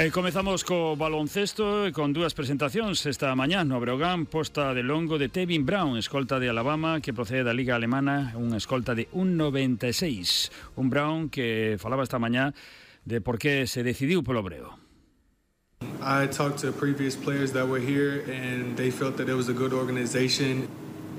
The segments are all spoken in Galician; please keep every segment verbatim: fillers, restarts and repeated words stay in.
E comezamos co baloncesto e con dúas presentacións esta mañá no Breogán, posta de longo de Tevin Brown, escolta de Alabama que procede da Liga Alemana, unha escolta de un noventa e seis. Un Brown que falaba esta mañá de por que se decidiu polo Breo. I talked to previous players that were here and they felt that it was a good organization.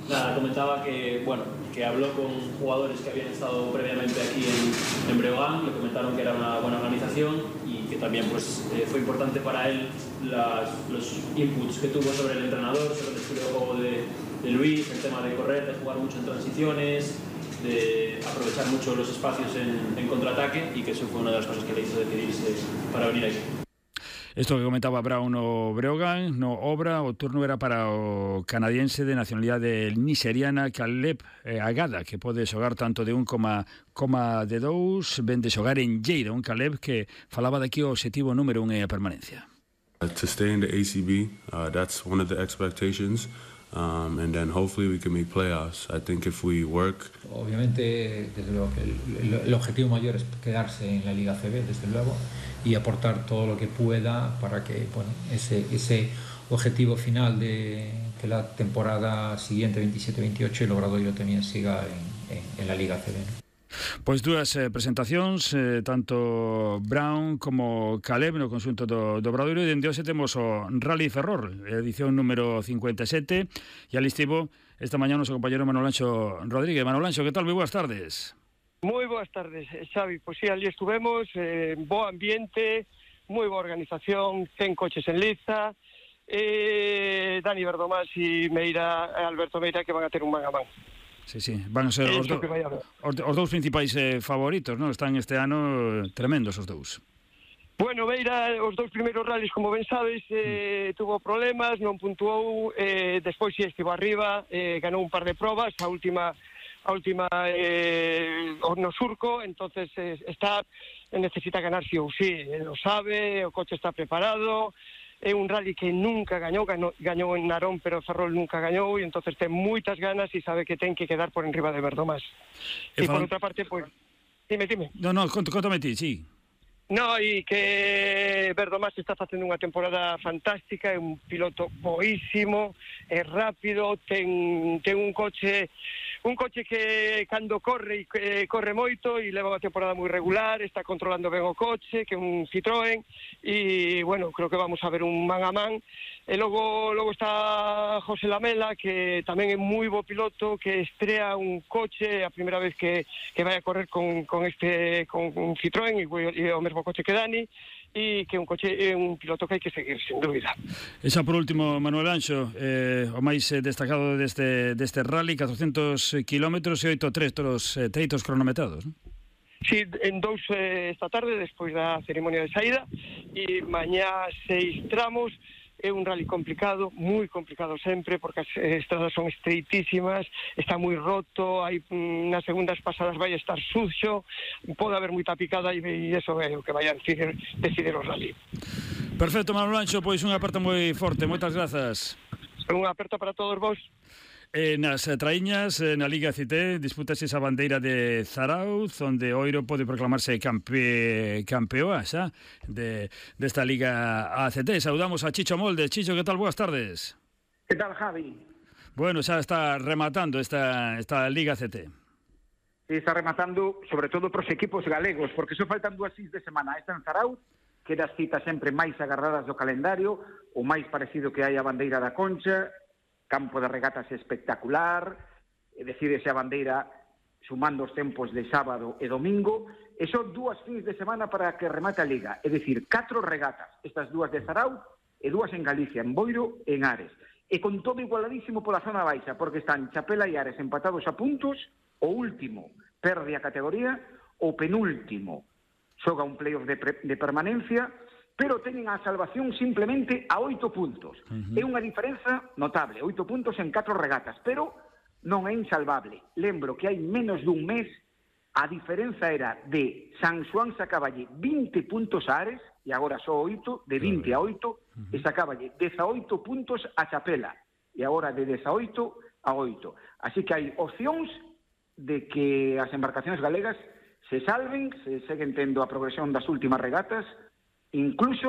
Nada, comentaba que, bueno, que habló con jugadores que habían estado previamente aquí en, en Breogán, le comentaron que era una buena organización y que también pues, eh, fue importante para él las, los inputs que tuvo sobre el entrenador, sobre el estilo de juego de, de Luis, el tema de correr, de jugar mucho en transiciones, de aprovechar mucho los espacios en, en contraataque, y que eso fue una de las cosas que le hizo decidirse para venir aquí. Isto que comentaba Brown no Breogán, no Obra, o turno era para o canadiense de nacionalidade nigeriana Caleb eh, Agada, que pode xogar tanto de un coma, coma de dous, ven de xogar en Lleida, un Caleb que falaba daqui o objetivo número un é a permanencia. To stay in the A C B, uh, that's one of the expectations. Um, and then hopefully we can make playoffs. I think if we work. Obviamente, desde luego, el, el, el objetivo mayor es quedarse en la Liga A C B, desde luego, y aportar todo lo que pueda para que, bueno, ese, ese objetivo final de que la temporada siguiente, veintisiete veintiocho, el Obradoiro también siga en, en, en la Liga A C B, ¿no? Pois dúas eh, presentacións, eh, tanto Brown como Caleb no conxunto do, do Obradoiro, e dende hoxe temos o Rally Ferrol, edición número cincuenta e sete, e ali estivo esta mañá o noso compañero Manuel Anxo Rodríguez. Manuel Anxo, que tal? Moi boas tardes. Moi boas tardes, Xavi. Pois sí, ali estuvemos, eh, bo ambiente, moi boa organización, cen coches en liza, eh, Dani Verdomás e Meira, Alberto Meira, que van a ter un man a man. Sí, sí, van a ser os, do, os, os dous principais eh, favoritos, non? Están este ano tremendos os dous. Bueno, Meira, os dous primeiros rallies, como ben sabes, eh, mm. tuvo problemas, non puntuou, eh, despois si estivo arriba, eh, ganou un par de probas, a última a última eh, no surco, entonces eh, está necesita ganar sí ou sí, lo sabe, o coche está preparado. É un rally que nunca gañou, gañou, gañou en Narón, pero Ferrol nunca gañou, e entonces ten moitas ganas e sabe que ten que quedar por enriba de Verdomás. E, e por outra parte, pois, pues, dime, dime. No, no, contame ti, sí. No, e que Verdomás está facendo unha temporada fantástica, é un piloto boísimo, é rápido, ten, ten un coche un coche que cando corre eh, corre moito e leva unha temporada moi regular, está controlando ben o coche, que é un Citroën, e bueno, creo que vamos a ver un man a man. E logo logo está José Lamela, que tamén é moi bo piloto, que estrea un coche a primeira vez que, que vai a correr con, con este con un Citroën e, e o mesmo coche que Dani, e que un coche é un piloto que hai que seguir, sin dúbida. E xa por último, Manuel Anxo, eh, o máis eh, destacado deste, deste rally, catrocentos kilómetros e oito treitos, eh, treitos cronometrados, non? Sí, en dous eh, esta tarde, despois da ceremonia de saída, e mañá seis tramos. É un rally complicado, moi complicado sempre, porque as estradas son estreitísimas, está moi roto, hai nas segundas pasadas vai estar suxo, pode haber moita picada, e iso é o que vai a decidir, decidir o rally. Perfecto, Manuel Anxo, pois unha aperta moi forte, moitas grazas. Unha aperta para todos vos. Eh, nas traíñas, eh, na Liga C T, disputase esa bandeira de Zarauz, onde Oiro pode proclamarse campe, campeoa xa de, desta Liga A C T. Saudamos a Chicho Molde. Chicho, que tal? Boas tardes. Que tal, Javi? Bueno, xa está rematando esta, esta Liga C T. Sí, está rematando, sobre todo pros equipos galegos, porque só faltan dúas fins de semana. Esta en Zarauz, que das citas sempre máis agarradas do calendario, o máis parecido que hai a bandeira da Concha, campo de regatas espectacular, decídese a bandeira sumando os tempos de sábado e domingo, e son dúas fins de semana para que remate a Liga, é dicir, catro regatas, estas dúas de Zarauz e dúas en Galicia, en Boiro e en Ares, e con todo igualadísimo pola zona baixa, porque están Chapela e Ares empatados a puntos, o último perde a categoría, o penúltimo xoga un playoff de, de permanencia, pero teñen a salvación simplemente a oito puntos. Uh-huh. É unha diferenza notable, oito puntos en catro regatas, pero non é insalvable. Lembro que hai menos dun mes a diferenza era de San Xoán sacáballe vinte puntos a Ares, e agora só oito, de vinte a oito, uh-huh. e sacáballe dezaoito puntos a Chapela, e agora de dezaoito a oito. Así que hai opcións de que as embarcacións galegas se salven, se seguen tendo a progresión das últimas regatas, incluso